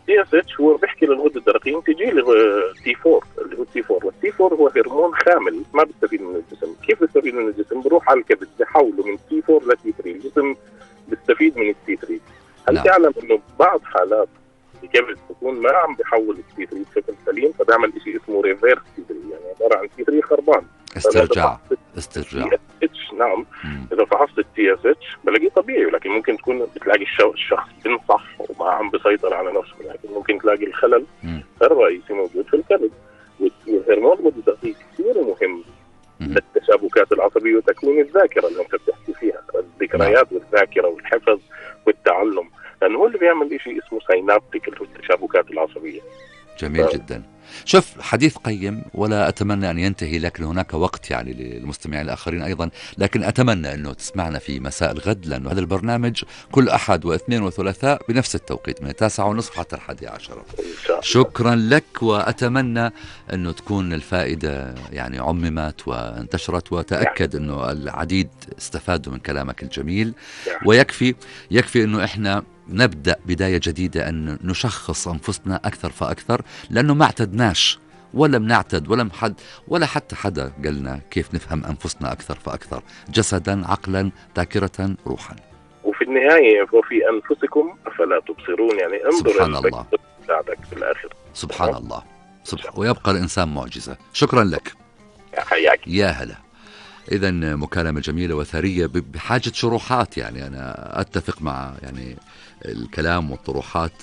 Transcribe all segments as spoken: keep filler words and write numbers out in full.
تي اس اتش هو بيحكي للغدة الدرقية تجي له تي فور اللي هو تي فور، والتي فور هو هرمون خامل ما بيستفيد من الجسم. كيف بيستفيد من الجسم؟ بروح على الكبد بحوله من تي فور ل تي ثري، الجسم بيستفيد من التي ثري. هل نعم. تعلم انه بعض حالات الكبد بتكون ما عم بحول التي ثري بشكل سليم، فبيعمل شيء اسمه ريفيرس تي ثري، يعني عباره عن تي ثري خربان، استرجاع استرجاع تي اس اتش. نعم. مم. اذا فحصت التي اس اتش بلاقيه طبيعي، ولكن ممكن تكون بتلاقي الشخص بنصح وما عم بيسيطر على نفسه، لكن ممكن تلاقي الخلل مم. الرئيسي موجود في الكبد. والهرمون الغدة كثير مهم مم. للتشابكات العصبيه وتكوين الذاكره اللي انت بتحكي فيها، الذكريات والذاكره والحفظ والتعلم، لانه هو اللي بيعمل شيء اسمه سينابتيك اللي هو التشابكات العصبيه. جميل جدا. شوف، حديث قيم ولا أتمنى أن ينتهي، لكن هناك وقت يعني للمستمعين الآخرين أيضا، لكن أتمنى أنه تسمعنا في مساء الغد، لأنه هذا البرنامج كل أحد واثنين وثلاثاء بنفس التوقيت من التاسعة ونصف حتى الحادية عشرة. شكرا لك، وأتمنى أنه تكون الفائدة يعني عممت وانتشرت، وتأكد أنه العديد استفادوا من كلامك الجميل. ويكفي يكفي أنه إحنا نبدأ بداية جديدة، أن نشخص أنفسنا أكثر فأكثر، لأنه ما اعتدناش ولا بنعتد ولا حد ولا حتى حدا قالنا كيف نفهم أنفسنا أكثر فأكثر، جسدا عقلا ذاكرة روحا. وفي النهاية وفي أنفسكم أفلا تبصرون، يعني انظر سبحان الله بعدك في الآخر. سبحان الله سبحان ويبقى الإنسان معجزة. شكرا لك. حياك. يا هلا. إذن مكالمة جميلة وثرية بحاجة شروحات، يعني أنا أتفق مع يعني الكلام والطروحات،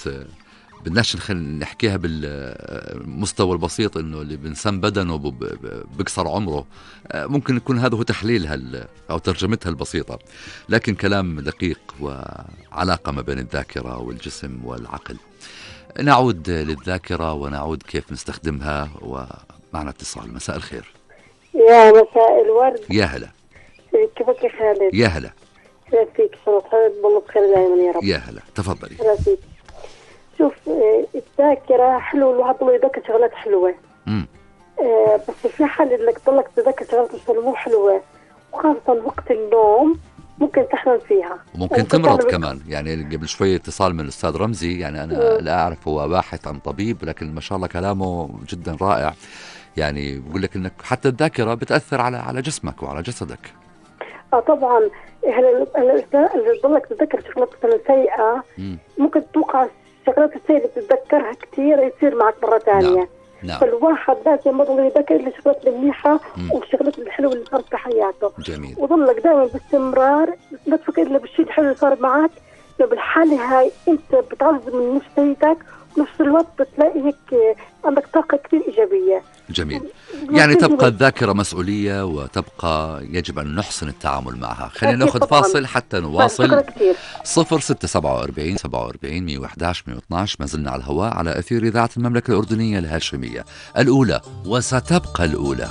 بدناش نحكيها بالمستوى البسيط إنه اللي بنسم بدنه بكسر عمره، ممكن يكون هذا هو تحليلها أو ترجمتها البسيطة، لكن كلام دقيق وعلاقة ما بين الذاكرة والجسم والعقل. نعود للذاكرة ونعود كيف نستخدمها، ومعنا اتصال. مساء الخير. يا مساء الورد. يا هلا. كيفك يا خالد؟ يا هلا. كيف فيك؟ صحيح والله بخير دائما يا رب. يا هلا، تفضلي. راسيك. شوف، الذاكرة حلو الواحد ضل يذكر شغلات حلوة. امم آه بس في حال انك تضلك تذكر شغلات مو حلوة، وخاصة وقت النوم ممكن تحلم فيها وممكن تمرض كمان. يعني قبل شوية اتصال من الأستاذ رمزي، يعني أنا مم. لا أعرف هو باحث عن طبيب، لكن ما شاء الله كلامه جدا رائع. يعني بقول لك انك حتى الذاكره بتاثر على على جسمك وعلى جسدك. اه طبعا. هلا اللي تضلك تتذكر شغلات مثلا سيئه، مم. ممكن توقع الشغلات السيئه اللي بتتذكرها كثير يصير معك مره ثانيه. نعم. نعم. فالواحد لازم يضل يذكر الشغلات المنيحه والشغلات الحلوه اللي صارت في حياته. جميل. وضلك دائما باستمرار لا تفكر الا بالشيء الحلو اللي صار معك، بالحاله هاي انت بتعزز من نفسيتك، ونفس الوقت بتلاقي هيك عندك طاقة كثير إيجابية. جميل. يعني تبقى الذاكرة مسؤولية، وتبقى يجب أن نحسن التعامل معها. خلينا نأخذ فاصل حتى نواصل. صفر ستة سبعة وأربعين سبعة وأربعين مية وإحدى عشر مية واثني عشر ما زلنا على الهواء على أثير إذاعة المملكة الأردنية الهاشمية الأولى، وستبقى الأولى.